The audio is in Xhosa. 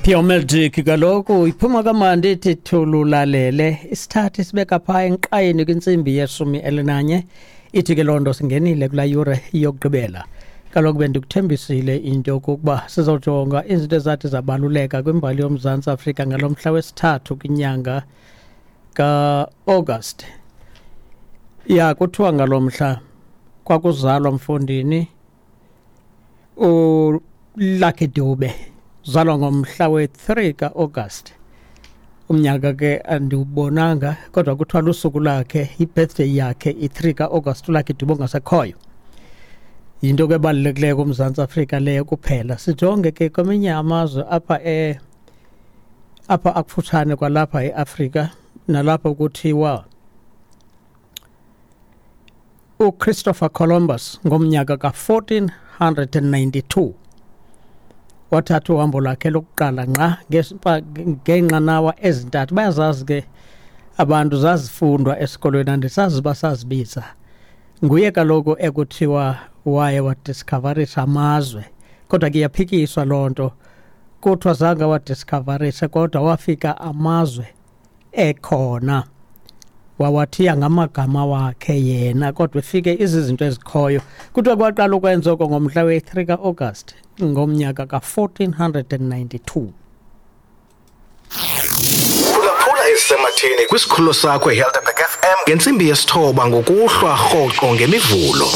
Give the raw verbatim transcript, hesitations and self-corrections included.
Pure Magic kaloku iphuma kamandi ithi thululalele. Isithathu sibeka phaa enkqayeni kwintsimbi yeshumi elinanye. Ithi ke loo nto singenile kulaa yure yokugqibela. Kaloku bendikuthembisile into yokokuba sizojonga izinto ezathi zabaluleka kwimbali yoMzantsi Afrika ngalo mhla wesithathu kwinyanga ka-August. Ya, kuthiwa ngalo mhla kwakuzalwa mfondini uLucky Dube, zalwa ngomhla we-three ka-August. Umnyaka ke andiwubonanga, kodwa kuthiwa lusuku lakhe, i-birthday yakhe i-three ka-August, uLucky Dube ongasekhoyo. Yinto ke ebalulekileyo kuMzantsi Afrika leyo kuphela. Sijonge ke kweminye amazwe apha e apha akufutshane kwalapha eAfrika, nalapho kuthiwa uChristopher Columbus ngomnyaka ka-fourteen hundred and ninety-two wathatha uhambo lwakhe lokuqala ngqa ngeenqanawa ezintathu. Bayazazi ke abantu, zazifundwa esikolweni, andisazi uba sazibiza. Nguye kaloku ekuthiwa waye wadiscoverisha amazwe, kodwa ke iyaphikiswa loo nto. Kuthiwa zange wadiscoverisha, kodwa wafika amazwe ekhona, wawathiya ngamagama wakhe yena, kodwa efike izizinto ezikhoyo. Kuthiwa kwaqala ukwenza oko ngomhla we-three ka-August ngomnyaka ka-fourteen hundred and ninety-two. Phulaphula ezisematheni kwisikhululo sakho iHelderberg F M ngentsimbi yesithoba ngokuhlwa rhoqo ngemivulo.